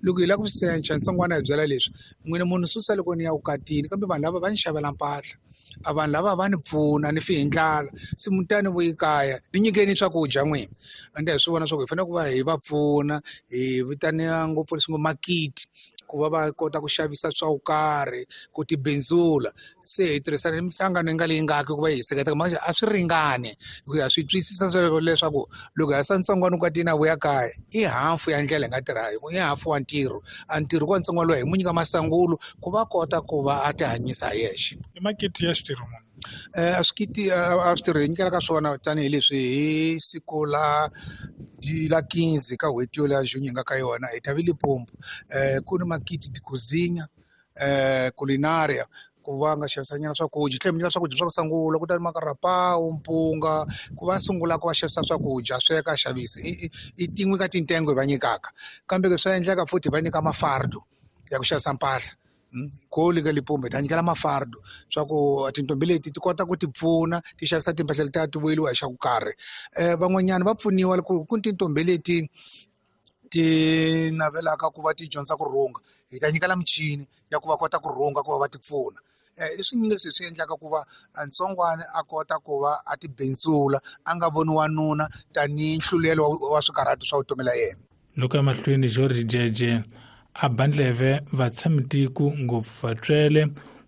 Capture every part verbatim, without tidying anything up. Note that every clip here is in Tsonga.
Loko hi lava ku secha ntsongwana hi byela leswi n'wina munhu susa loko ni ya vukatini kambe vanhu lava va ni xavela mpahla a vanhu lava va ni pfuna ni fi hi ndlala se mutani vuyi kaya ni nyikeni swakudya n'wina ende hi swi vona swa ku hi fanele ku va hi va pfuna hi vitaniwa ngopfu leswi ngo makiti ku va va kota ku xavisa swa ku karhi ku tibindzula se hi tirhisana ni minhlangano yi nga leyi ngaki ku va hi seketela manje a swi ringani hi ku ya swi twisisa sweswo leswaku loko ha sa ntsongwana vukatini a vuya kaya i hafu ya ndlela hi nga tirha i hafu wa ntirho a ntirho ku wa ntsongwana loyi hi mu nyika masangulo ku va kota ku va a ti hanyisa hi yexe. I makete ya switirho muni? A swikiti a swi tirhi hi nyikela ka swona tanihileswi hi siku la la quinze ka n'hweti yo ya June hi nga ka yona hi ta ve Limpopo um ku ni makiti ti-cozinha um culinaria ku va nga xavisa nyana swakudya tlhela mi nyika swakudya swa ku sungula ku ta ni makarapawu mpunga ku va sungula ku va xavisa swakudya sweka a xavisa i i tin'we ka tintengo hi va nyikaka kambe ke swa endleka futhi hi va nyika mafardo ya ku xavisa mpahla kole ka Limpopo hi ta nyikela mafardo swa ku tintombi leti ti kota ku ti pfuna ti xavisa timpahla letiya ti vuyeliwa hi xa ku karhi um van'wanyana va pfuniwa ku ku ni tintombi leti ti navelaka ku va ti dyondza ku rhunga hi ta nyikela michini ya ku va kota ku rhunga ku va va ti pfuna i swinyingi leswi hi swi endlaka ku va ntsongwana a kota ku va a ti bindzula a nga voni wanuna tanihi nhlulelo wa swikarhati swa vutomi la yena. Loko emahlweni George Jeje a ba ndleve vatshamitiko ngopfu vatswele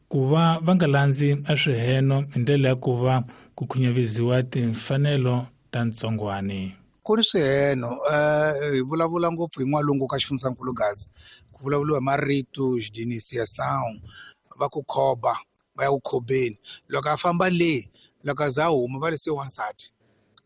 ku va va nga landzi a swiheno hi ndlela ya ku va ku khunyaviziwa timfanelo ta ntsongwani. Ku ni swiheno um hi vulavula ngopfu hi n'walungu ka xifundzankulu Gaza ku vulavuriwa hi marito xidinisiyasawu va ku khoba va ya ku khobeni loko a famba le loko a za a huma va le se wansati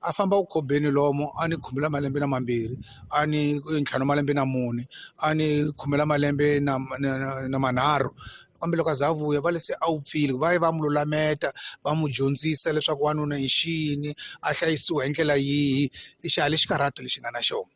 a famba ku khobeni lomo a ni khume la malembe na mambirhi a ni ntlhanu malembe na mune a ni khume la malembe na na, na manharhu kambe loko a za a vuya va le se a wupfile va ye va mu lulameta va mu dyondzisa leswaku wanuna i xini a hlayisiwa hi ndlela yihi i xihala xikarhato lexi nga na xona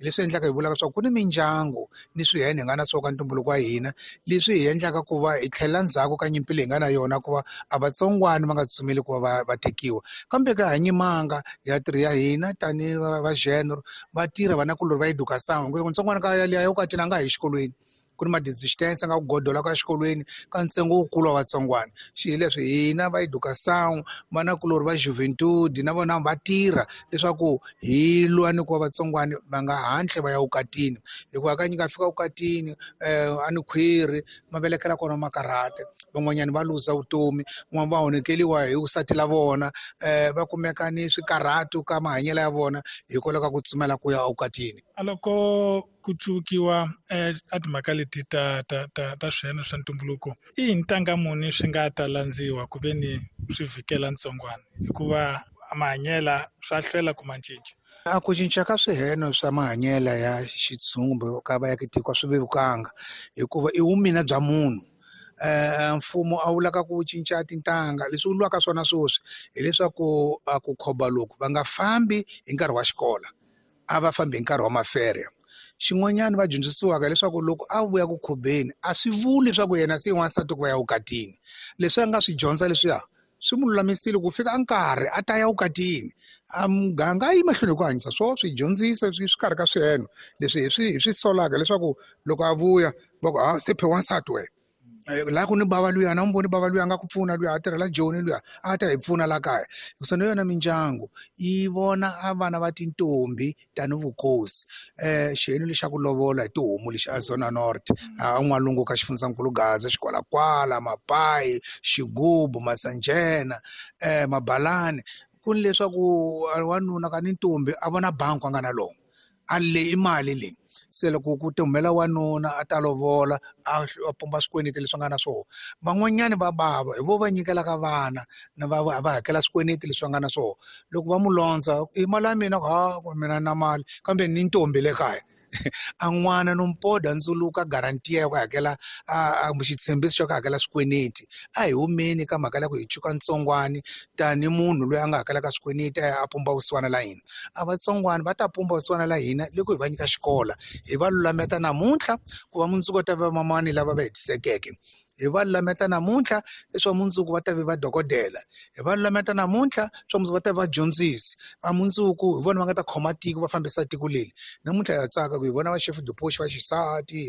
hi leswi endlaka hi vulaka leswaku ku ni mindyangu ni swihene hi nga na swona ka ntumbuluko wa hina leswi hi endlaka ku va hi tlhelela ndzhaku ka nyimpi leyi hi nga na yona ku va a vatsongwana va nga tsutsumeli ku va va va tekiwa kambe ka ha nyimanga ya tirhi ya hina tanihi va genre va tirha vanakulorhi va education ntsongwana ka yaliya yo ka tina a nga ha yi exikolweni ku ni ma-distance nga ku godola ka xikolweni ka ntsengo wukulu wa vatsongwana xi hi leswi hina va education vanakulorhi va juventude na vona va tirha leswaku hi lwa ni ku va vatsongwana va nga hatli va ya vukatini hikuva hakanyingi a fika vukatini um a ni khwiri ma velekela kona makarhata van'wanyana va luza vutomi van'wana va onhekeliwa hi vusati la vona um va kumeka ni swikarhatu ka mahanyelo ya vona hikwalaho ka ku tsumela ku ya evukatini. A loko ku cuvukiwa a timhaka leti ta ta ta ta swiheno swa ntumbuluko i ntanga muni swi nga ta landziwa ku ve ni swi vhikela ntsongwana hikuva mahanyela swa hlwela ku ma cinca. A ku cinca ka swiheno swa mahanyela ya xitshungu kumbe ka vaakatiko swi vevukanga hikuva i vumina bya munhu um mfumo a wu lava ku cinca tintangha leswi wu lwaka swona sweswi hileswaku a ku khoba loku va nga fambi hi nkarhi wa xikolo a va fambi hi nkarhi wa mafere xin'wanyana va dyondzisiwaka leswaku loko a vuya ku khobeni a swi vuli leswaku yena se i wansati ku va ya vukatini leswi a nga swi dyondza leswiya swi mu lulamisile ku fika nkarhi a ta ya vukatini a muganga a yi mahlweni hi ku hanyisa swo swi dyondzisa swi swi karhi ka swiheno leswi hi swi hi swi solaka leswaku loko a vuya va ku a se phe wansati wena laha ku ni bava luya na n'wi voni bava luya a nga ku pfuna luya a tirhela Joni luya a ta hi pfuna la kaya hikusa na yona mindyangu yi vona a vana va tintombi tani vukosi um xiheno lexi xa ku lovola hi tihomu lexi a Zona North a n'walungu ka xifundzankulu Gaza xikwalakwala mapayi xigubu masanjena um mabalani ku ni leswaku wanuna ka ni ntombi a vona bangi a nga na lona a le i mali leyi se loko ku ti humela wanuna a ta lovola a pumba swikweleti leswi nga na swona van'wanyani va bava hi vo va nyikelaka vana na va va hakela swikweleti leswi va nga na swona loko va mu londza i mali ya mina ha mina na mali kambe ni ntombi le kaya a n'wana no mpoda ndzuluka garantiya ya ku hakela a xitshembiso xa ku hakela swikweleti a hi humeni ka mhaka ya ku hi cuka ntsongwani tani munhu loyi a nga hakelaka swikweleti a ya a pumba vusiwana la hina a vatsongwana va ta pumba vusiwana la hina loko hi va nyika xikola hi va lulameta namuntlha ku va mundzuku ta va mamani lava va hetisekeke hi va lulameta namuntlha leswaku mundzuku va ta ve vadokodela hi va lulameta namuntlha swa mundzuku va ta va vadyondzisi va mundzuku hi vona va nga ta khoma tiko va fambisa tiko leri namuntlha ha tsaka ku hi vona va chef de poste va xisati.